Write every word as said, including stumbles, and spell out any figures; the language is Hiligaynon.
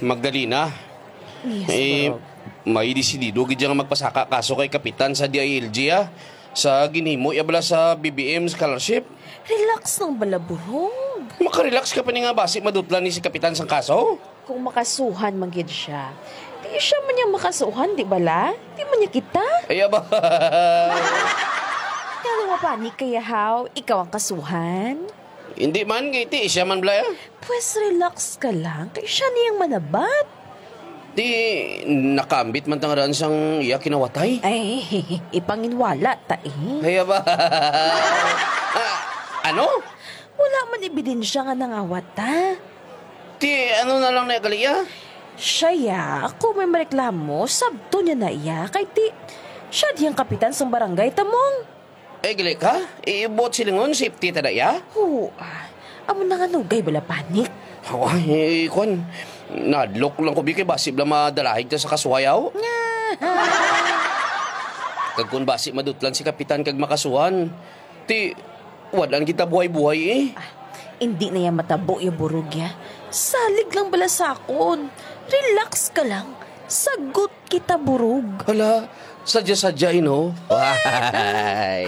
Magdalena, Yes, eh, bro. May desidido gid siya nga magpasaka kaso kay kapitan sa D I L G, ah, sa ginhimo iya bala sa B B M scholarship. Relax lang bala, burog. Makarelax ka pa ni nga basi madutlan ni si kapitan sang kaso? Kung makasuhan man gid siya, di siya man niya makasuhan, di bala? Di man niya kita. Ay, aba. Kaya mo panik kaya, haw? Ikaw ang kasuhan? Hindi man, kay ti, siya man bala, ah. Pwes, relax ka lang. Kay siya niyang manabat. Ti, nakambit man tangaran sang iya kinawatay. Ay, ipanginwala ta eh. Kaya ba? Ah, ano? Wala man ebidensya nga nangawat ta. Ti, ano na lang na gali iya? Siya ya, ako may mareklamo, sabto niya na iya. Kay ti, siya diyang kapitan sang barangay, tamong. Ay, gali ka? Ibuot silingon, safety ta da iya? Oo, ah. Amo na nga nugay bala panik. Ay, kwan. Nadlok lang ko, bi, kay basi bala madalahig ta sa kasuhayaw. Kag kung basi madutlan si kapitan kag makasuhan, ti, wad-an kita buhay-buhay eh. Ah, hindi na yan matabo, ya burog ya. Salig lang bala sa akon. Relax ka lang. Sagot kita, burog. Hala, sadya-sadya, eh, no? Why?